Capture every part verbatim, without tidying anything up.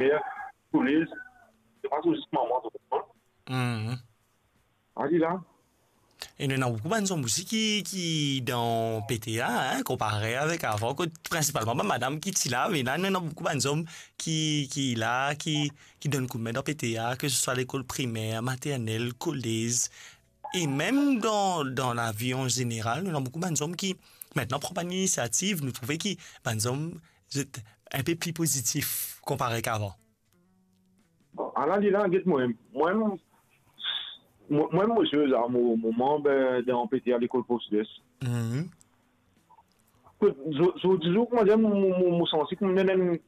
primer, kolez, se pa zis mama, to konpran? Mhm. Ali la. E nou ena boukou bann zom osi ki, ki dan P T A, hein, konpare avek avan, kot prinsipalman bann madam ki ti la, me la, nou ena boukou bann zom ki, ki la, ki, ki donn koudme dan P T A, ke se swa lekol primer, maternel, kolez, e mem dan, dan lavi an zeneral, nou ena boukou bann zom ki, mintnan, pran bann inisiativ, nou trouve ki bann zom, zot inpe pli pozitif konpare kavan. Bon, ala li la, get mwa, mwa, mwa, mwa, mo, mo, mo manb, eh, dan P T A lekol Port Sud-Est. Mhm. Kot zo-, zordi zour, kouma dir, mo, mo, mo, mo santi kouma ena enn,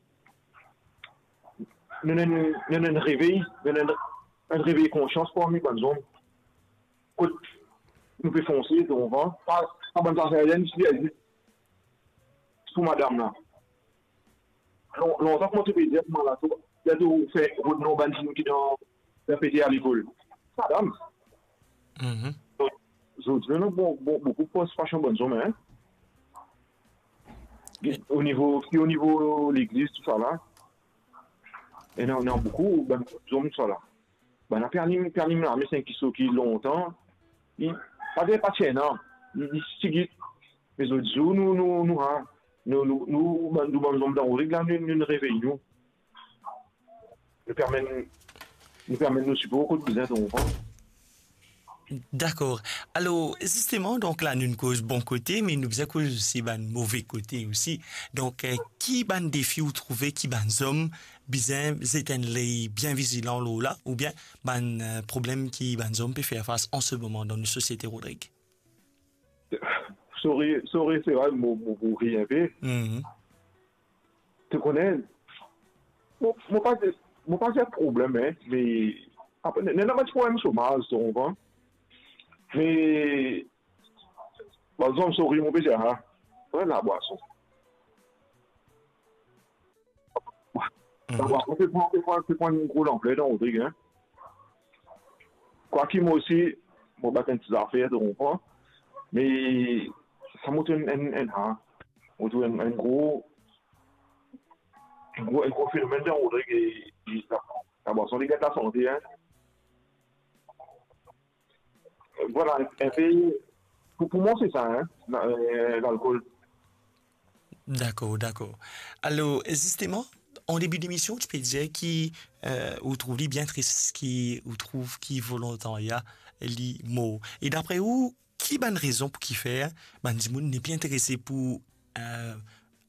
ena enn, ena enn revey, ena enn, enn revey konsians parmi bann zom. Kot nou pe fonse, donk, pa, pa bann zafer, enn ti, pou madam la. Lon-, lontan kouma to pe dir, kouma la, to, la to fer rod non bann dimoun ki dan, dan P T A lekol. Madam. Mhm. Donk, zordi, nou, bon, bon, boukou partisipasion bann zom, hein. O nivo, ki o nivo legliz, tousala. E non, non, boukou, bann zom, tousala. Bann la pe alim, pe alim lame, se enn kisoz ki lontan, li, pa dir pa ti ena, li, li ti git. Me zordi zour, nou, nou, nou, ha, nou, nou, nou, bann, nou bann zom dan Rodrig la, nou, nou, nou revey nou. Nou pe amenn, nou pe amenn nou sipor kot bizin, to konpran. Dakor. Alor, zisteman, donk la, nou'nn koz bon kote, me nou bizin koz osi bann move kote osi. Donk, eh, ki bann defi ou trouve ki bann zom bizin zet enn ley bien vizilan lor la, oubien bann, eh, problem ki bann zom pe fer fas an se moman dan nou sosiete, Rodrig? Sorry, sorry, se vre, mo, mo, mo rir inpe. Mhm. To kone, mo, mo pa dir, mo pa dir problem, hein, me apre, ena, ena bann ti problem somaz, to konpran. Me, par exanp, sorry, mo pe dir, ha, pran labwason. Mhm. Labwason pe pran, pe pran, pe pran enn gro lanpler dan Rodrig, hein. Kwaki mo osi, mo bat enn ti zafer, to konpran. Me sa mo trouv enn, enn, enn, ha, mo trouv enn, enn gro, enn gro, enn gro fenomenn dan Rodrig e, e la, labwason, li gat lasante, hein. Vwala, enpe, pou, pou mwa, se sa, hein, la, eh, lalkol. Dakor, dakor. Alor, zisteman, an debi demision, to pe dir ki, eh, ou trouv li bien tris, ki ou trouv ki volontarya, li mor. E dapre ou, ki bann rezon pou kifer bann dimoun nepli interese pou, eh,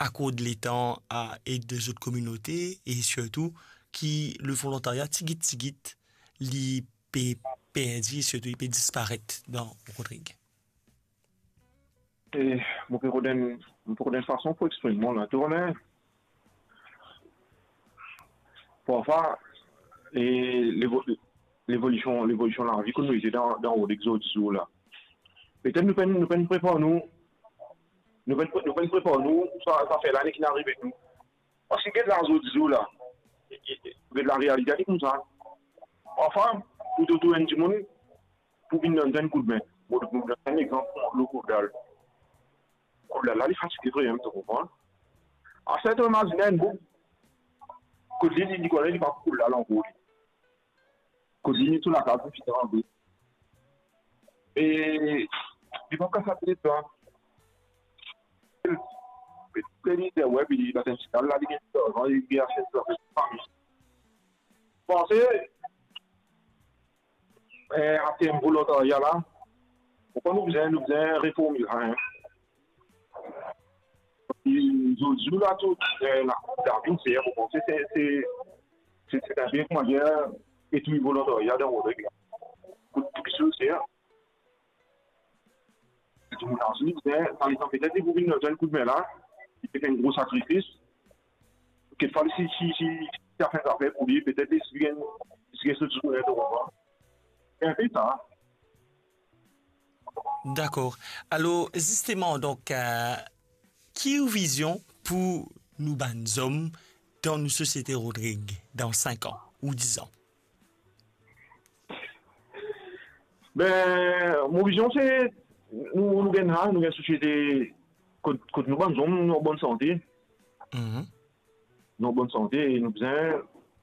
akord letan a ed zot kominote e sirtou ki le volontarya tigit, tigit, li pe perdi, sirtou li pe disparet dan Rodrig? E mo pe rod enn, mo pe rod enn fason pou exprim mwa la, to kone. Parfwa, e levo-, levolision, levolision lavi kot nou ete dan, dan Rodrig zordi zour la. Petet nou pa'nn, nou pa'nn prepar nou, nou pa'nn pre-, nou pa'nn prepar nou, sa, sa fer lane ki arive nou. Paski get la zordi zour la, e, e, e, get larealite, li koumsa. Parfwa, pou to trouv enn dimoun, pou vinn donn, donn koudme. Mo, mo donn enn exanp, lor Kourdal. Kourdal la, li fatige vremem, to konpran. Aster to imazinn enn boug, kot li, li, li kone li pa pou koul la ankor li. Kot li, li tou lakaz, li fini anvi. E li pa kapav sa, petet sa. Petet li dir, wi, li batem sigal la, li gagn larzan, li gagn aste sa, fami. Panse, eh, aster volontarya la, pou ki nou bizin, nou bizin reform li, hein. E zordi zour la, tou, eh, lakour Darwin, se, mo panse, se, se, se, se enn bien, kouma dir, etni volontarya dan Rodrig la. Pou, pou ki soz, se, Dimoun la, li bizin, par exanp, petet li pou vinn donn koudme la, li pe fer enn gro sakrifis. Kekfwa, si, si, si, si sa fer zafer pou li, petet li, si gagn, si gagn so zourne, to konpran. Se enpe sa. Dakor. Alor, zisteman, donk, eh, ki ou vizion pou nou bann zom dan nou sosiete, Rodrig, dan sink an ou diz an? Ben, mo vizion se nou, nou gagn la, nou gagn sosiete kot, kot nou bann zom, nou an bonn sante. Mhm. Nou an bonn sante e nou bizin